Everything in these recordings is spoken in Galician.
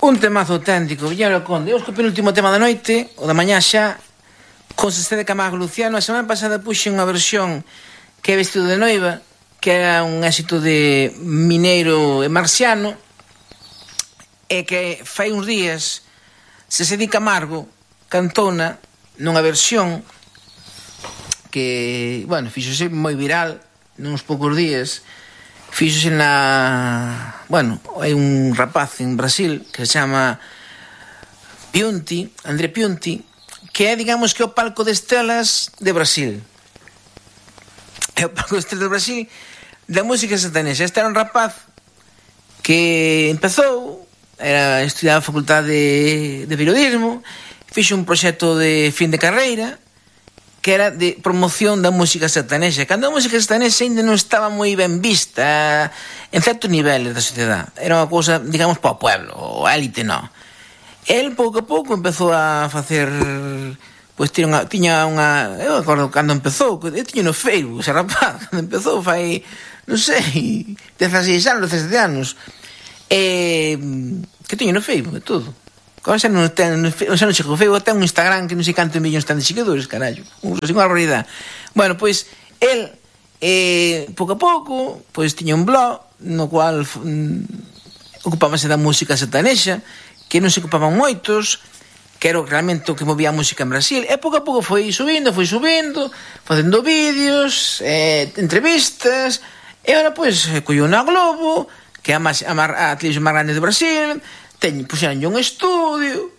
Un temazo auténtico, Villanueva Conde. Os co penúltimo tema da noite, o da mañá xa, con Sesé de Camargo Luciano. A semana pasada puxe unha versión que é Vestido de Noiva, que era un éxito de Mineiro e Marciano, e que fai uns días Sesé de Camargo cantona nunha versión que, bueno, fíxose moi viral nuns poucos días. Fíxose na... Bueno, hai un rapaz en Brasil que se chama Piunti, André Piunti, que é, digamos, que o palco de estrelas de Brasil. É o palco de estrelas de Brasil da música sertanexa. Este era un rapaz que empezou, estudiaba a facultade de periodismo, fixo un proxecto de fin de carreira que era de promoción da música sertanexa, cando a música sertanexa ainda non estaba moi ben vista en certos niveles da sociedade. Era unha cousa, digamos, para o pueblo, o élite, non. El, pouco a pouco, empezou a facer... Pois tiña unha... Eu acordo cando empezou, eu tiña no Facebook, ese rapaz, cando empezou, fai, non sei, 16 anos, 17 anos, que tiña no Facebook, e todo. Agora xa non chego o Facebook, ten un Instagram que non sei cantos millóns ten de seguidores, carallo. Unha barbaridade. Bueno, pois, el, pouco a pouco, pois tiña un blog no cual ocupábase da música sertanexa, que non se ocupaban moitos, que era realmente o que movía a música en Brasil, e pouco a pouco foi subindo, facendo vídeos, entrevistas, e agora, pois, colleu na Globo, que é a televisión máis grande do Brasil, puxeron un estudio,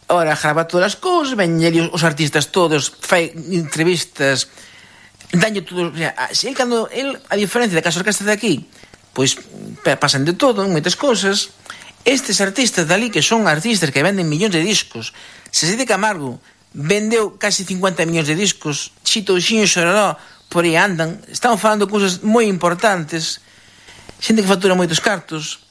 ahora grava todas as cousas, ven os artistas todos, fai entrevistas, danlle todo, cando el, a diferencia da que as orquestas de aquí, pois pasan de todo, moitas cousas. Estes artistas dali, que son artistas que venden millóns de discos, Sesé de Camargo vendeu casi 50 millóns de discos, Chito Uxiño e Xororó por aí andan, están falando cousas moi importantes, xente que factura moitos cartos.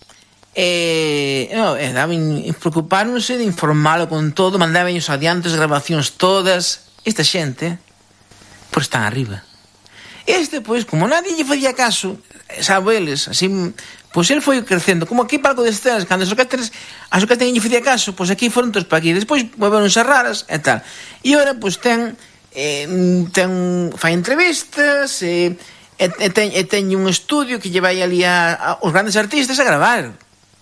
Preocuparonse de informálo con todo, mandaban os adiantes, grabacións todas. Esta xente, pois están arriba. Este, pois, como nadie lle facía caso, sabe eles, así, pois el foi crecendo, como aquí palco de estrelas, cando as orquestas lle facía caso, pois aquí foron todos para aquí, despois volveronse raras e tal. E ora, pois, fai entrevistas, e ten un estudio que lle vai ali aos grandes artistas a gravar,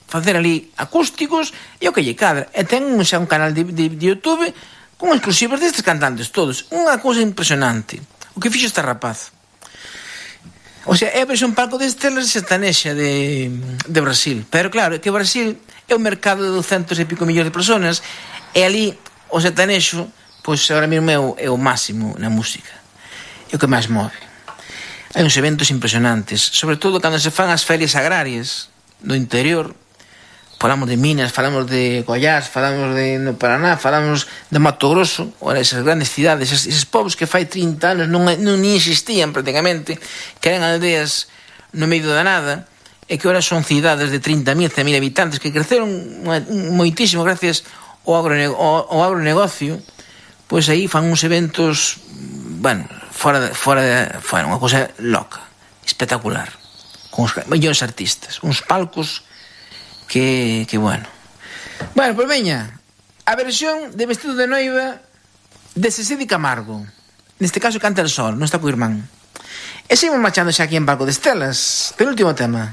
facer ali acústicos e o que lle cadra. E ten xa un canal de YouTube con exclusivos destes cantantes todos. Unha cousa impresionante o que fixo este rapaz. O sea, é a versión palco de estrelas sertanexa de Brasil. Pero claro, é que Brasil é un mercado de 200 e pico millóns de personas, e ali o sertanexo, pois agora mesmo é o máximo na música, é o que máis move. Hai uns eventos impresionantes, sobre todo cando se fan as ferias agrarias do interior. Falamos de Minas, falamos de Goiás, falamos de no Paraná, falamos de Mato Grosso, ora esas grandes cidades, eses povos que fai 30 anos non ni existían prácticamente, que eran aldeas no medio da nada, e que ora son cidades de 30.000, 100.000 habitantes, que creceron moitísimo gracias ao agronegocio. Pois aí fan uns eventos, bueno, fora unha cosa loca, espectacular, con os millóns artistas, uns palcos que bueno. Bueno, pois veña, a versión de Vestido de Noiva de Sesé de Camargo. Neste caso canta el sol, non está co irmán. E seguimos marchando xa aquí en Palco de Estelas, penúltimo tema.